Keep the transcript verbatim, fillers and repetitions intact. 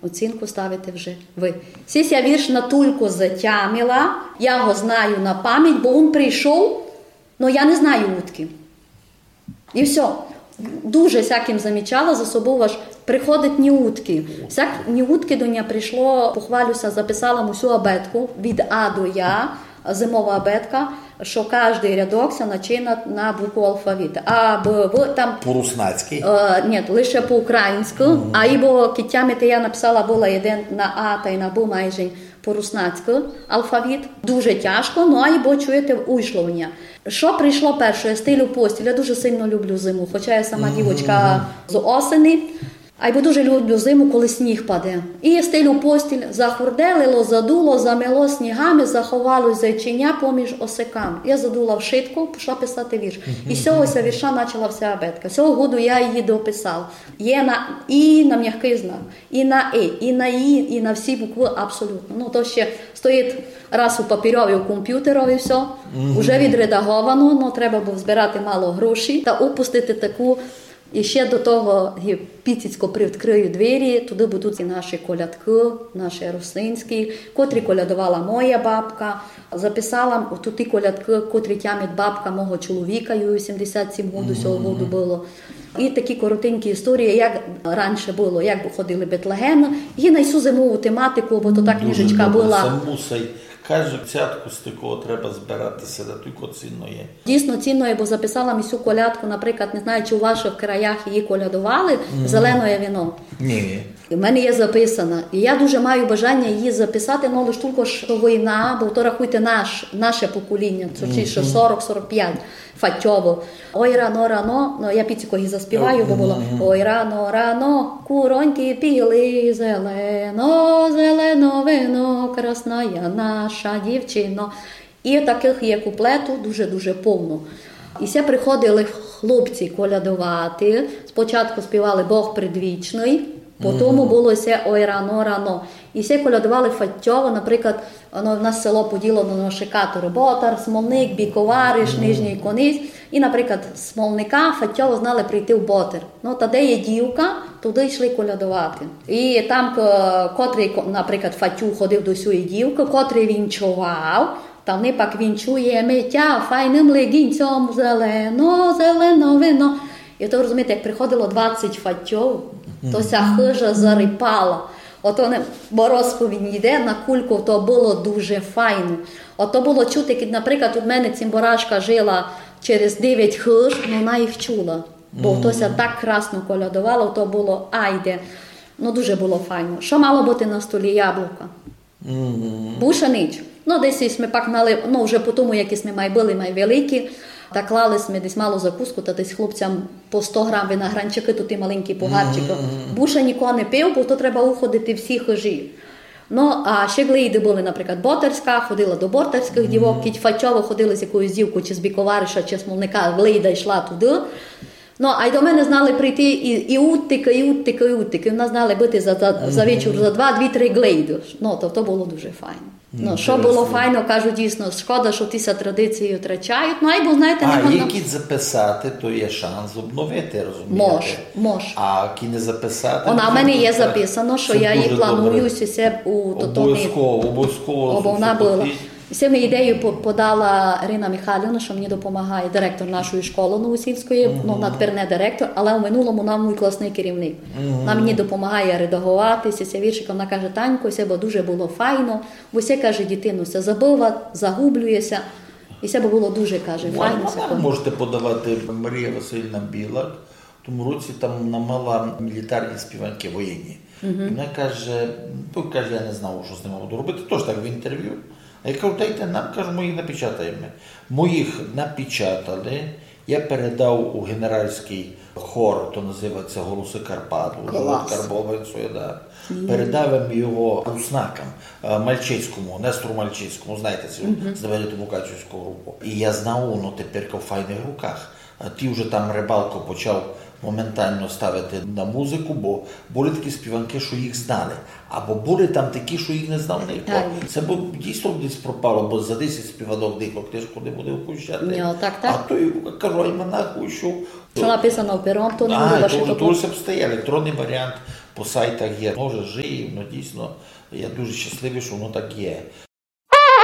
оцінку ставите вже вы. Сись я вірш натулько затямила, я го знаю на память, бо вун прийшов, но я не знаю удкы. И всьо. Дуже сякым замічала за собов, аж приходить ниудкы. Сяк ниудкы до ня пришло, похвалю ся, записала м усю абетку від А до Я, зимова абетка, што каждый рядок ся начинат на букву алфавіта. А, Б, В, там... По-руснацькы? Е, ні, лише по-українськы. А ибо, кидь тямите, я написала была єден на А тай на Б майже по-руснацькы алфавіт. Дуже тяжко, но айбо, чуєте, уйшло в ня. Што пришло перше? Я стелю постіль. Я дуже сильно люблю зиму, хоча я сама дівочка з осени. Айбо дуже люблю зиму, коли сніг паде. И я стелю постіль, захурделило, задуло, замело снігами, заховало зайченя поміж осиками. Я задула вшытко, пішла писати вірш. И з сього ся вірша начала вся абетка. Сього году я її дописала. Є на, и на мягкый знак, и на И, и на И, и на всі буквы абсолютно. Ну, то ще стоїть раз у папірьови, у компютерови всьо. Уже відредаговано, но треба было збирати мало грошей та упустити таку. И ще до того, ги піціцько привідкрию двері, туды будуть и наші колядкы, наші русинські, котрі колядовала моя бабка. Записала м туй и колядкы, котрі тямить бабка мого чоловіка, йому вісімдесят сім году сього году было. И такі коротенькі історії, як раніше было, як ходили бетлегемы, и на сю зимову тематику, бо то та книжечка была. Каже, цятку з такого треба збирати ся, да тілько цінно є. Дійсно цінно є, бо записала м сю колядку, наприклад, не знаю, чи у вашых краях її колядовали, «Зеленоє вино». Ні. У мене є записана. И я дуже маю бажаня її записати, но лиш тілько, што война, бо то, рахуйте, наш, наше поколіня, точніше, сорок, сорок пять, Фатьово. Ой, рано, рано, ну, я піціко її заспіваю, бо было: «Ой, рано, рано, куроньки пили, зелено, зелено вино, красная наша дівчино». И такых є куплету дуже-дуже повно. И се приходили хлопці колядовати. Спочатку співали «Бог предвічный», потім было се «Ой, рано, рано». И се колядовали Фатьово, наприклад, воно в нас село поділено на шикаторы: Ботар, Смолник, Біковариш, Нижній Конець. И, наприклад, з Смолника Фатьово знали прийти в Ботар. Ну, та де є дівка, туды йшли колядовати. И там, к-, котрый, ко-, наприклад, Фатю ходив до сюї дівкы, котрый вінчовав, та они пак: «Вінчуєме тя файным легінцьом, зелено, зелено вино». И то, розумієте, як приходило двадцять Фатьов, то ся хыжа зарипала. Ото не, бо розповідь йде, накулько то было дуже файно. Ото было чути, як, наприклад, у мене цімборашка жила через девять хыж, но она їх чула. Бо то ся так красно колядовало, то было айде. Ну, дуже было файно. Што мало быти на столі? Яблука. Буше нич. Ну, десь сьме пак мали, ну, вже по тому, як сьме май были, май великі, та клали сьме десь малу закуску, та десь хлопцям по сто грам виногранчикы, то ті маленькі погарчикы. Буше ніко не пив, бо то треба уходити всі хыжі. Ну, а ще глейды были, наприклад, ботарська, ходила до ботарськых дівок, кідь Фатьово ходили з якоюсь дівкою, чи з Біковариша, чи з Смолника, глейда йшла туды. Ну, а й до мене знали прийти і, і уттика, і уттика, і уттика. І в нас знали быти за, за, за вечір за два, дві-три глейды. Ну, то, то было дуже файно. Ну, што было файно, кажу, дійсно, шкода, што ті ся традиції втрачають. Ну, айбо, знаєте, а, не можна. Як їх записати, то є шанс обновити, розумієте? Мож, мож. А як не записати, вона в мене є записано, што я її планую, ся у, то, то не... Обов'язково, обов'язково. Бо вона была. Сьому ідею по-, подала Ірина Михайлівна, што мені допомагає, директор нашої школы Новосільської, ну, вона тепер не директор, але у минулому вона мій класный керівник. Вона мені допомагає редаговати ся, ся віршика. Вона каже: «Танько, се бы дуже было файно, бо се, каже, дітино ся забыва, загублює ся». И се бы было дуже, каже, файно. Можете подавати, Марія Василівна Білак, в тому році там вона мала мілітарні співанки воєнні. І вона каже, ну, каже, я не знав, што з ними буду робити, тож так в інтерв'ю. А я кажу, дайте нам, кажу, мы їх напечатаєме. Мы їх напечатали, я передав у генеральськый хор, то називається «Голосы Карпат», у Карбованцю, да. Передав им його руснакам, е, Мальчицькому, Нестору Мальчицькому, знаєте, з Небеліту Мукачівську групу. И я знав, воно тепер в файных руках. А ті вже там Рибалко почав моментално ставити на музыку, бо были такі співанки, што їх знали. Або были там такі, што їх не знав ніхто. Се бы дійсно десь пропало, бо за десять співанок ніхто книжку не буде впущати. Ні, так, так. А то, я кажу, альманах вышов. Што написано пером, то не буде ваше. А, то, то все стає електронный варіант. По сайтах є, може, жиє, ну, дійсно, я дуже щасливый, што воно так є.